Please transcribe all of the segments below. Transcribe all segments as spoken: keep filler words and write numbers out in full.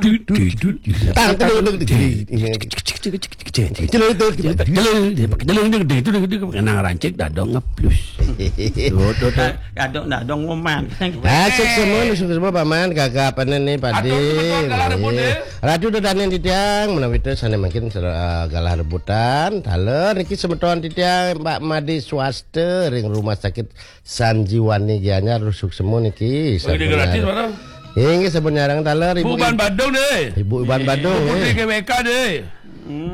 Tut, tut, tut. Tang, tedung, tedung, tedung. Tedung, tedung, tedung. Kenang rancak dadong ngeplus. Tuh, tuh, tuh. Dadong, dadong ngoman. Asik semua, asik semua paman, kakak panen nih padi. Aduh, betul, galah rebut, eh. Ratu dodanen titiang, menawi teu sané mangkin, eh, galah rebutan, taler niki semeton titiang, Mbak Made Swasta ring Rumah Sakit Sanjiwani Gianyar, rusuk semu niki. Bagi gratis, mana? Inggih, sampun nyareng taler, Bu Ibu. Ban Badung deh. Ibu Ban Badung, Bu Putri eh. G W K deh.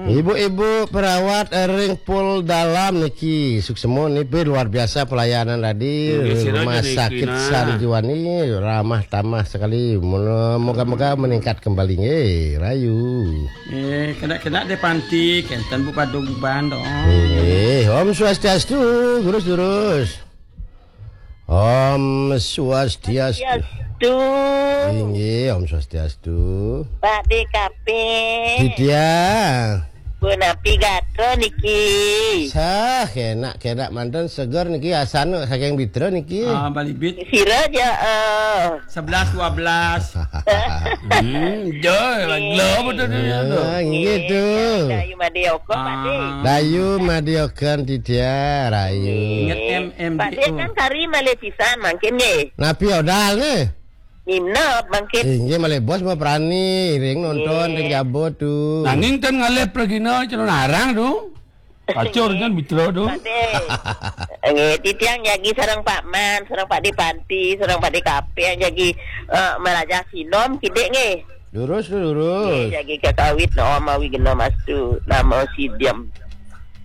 Ibu-ibu perawat ring Pol Dalam niki, suksma niki luar biasa pelayanan tadi. Inggih, sira Rumah niki, Sakit nah. Sanjiwani ramah tamah sekali. Moga-moga meningkat kembali nggih, rayu. Eh, kena-kena deh panti, kenten Bu Padung Ban dong. Inggih, Om Swastiastu, durus-durus. Om Swastiastu. Swastiastu. Inggih, Om Swastiastu. Pak D K P. Titiang. Punapi gatra niki? Sah, enak-enak manten seger niki, asana saking Bitra niki. Ah, Bali Beat. Sira ja, eh. Sebelas, dua belas. Hmm, jo, lagi lama tu dia tu. Ah, inggih tu. Dayu Madioka, Pak D. Ah. Dayu Madioka titiang, rayu. Ingat M M D O. Pak D kan kari malih pisan mangkin nggih. Napi odal nih? Nginep mangkin. Inggih malih bos mah prani, ring nonton, ring jabut tu. Nanging ten ngalih pragina calon arang tu. Kacau dengan Mitra tu. Pak D. Nggih, titiang jagi sareng Pak Man, sareng Pak D Panti, sareng Pak D Kape, jagi, eh, malajah sinom kidik nggih. Lurus tu, lurus. Nggih, jagi kakawit no mawi gena mastu, nama sidem.